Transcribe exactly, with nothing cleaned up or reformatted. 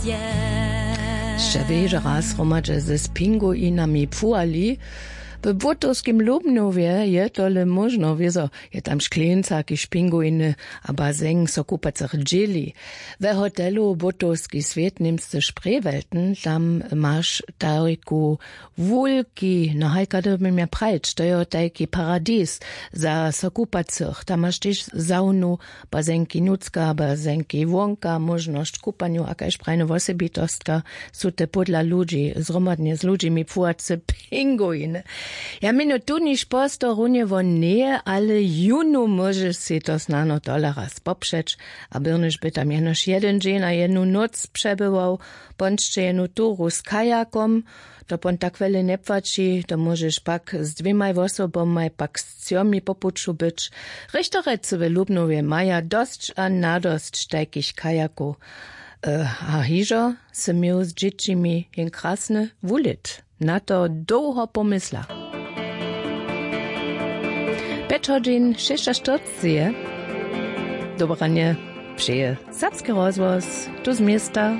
Sće wěžo raz hromadźe ze spinguinami płuwali. W błótowskim lubnowje je tole móžno wězo, je tam škleńca kiž pinguiny a bazeng so kupacych dźěli. We hotelu błótowski swět němsce sprejwelten tam maš tajku wulki no hajka dyrbimy prajić to jeho tajki paradis. Za so kupacych tam maš tež zawnu, bazenki nutřka bazenki wonka móžnosć kupanju a kaž prajny wosebitostka. Su te pódla ludźi zhromadnje z ludźimi płuwace pinguiny. Ja měnju tu niž posto runje won njeje ale jónu móžeš sej to snano tola raz popřeć. A byrnyš by tam jenož jedyn dźeń a jednu nóc přebywał. Pon sće jenu turu z kajakom. To pon tak wjele njepłaći to móžeš pak z dwěmaj wosobomaj pak z třomi po puću być. Rěchtorjecy w lubnowje maja dosć a nadosć tajkich kajakow. A hižo sy měł z dźěćimi jen krasny wulit. Na to dołho pomysla. Pjeć hodźin šěsćaštyrceći je. Dobranje přeje serbski rozhłos. Tu z města.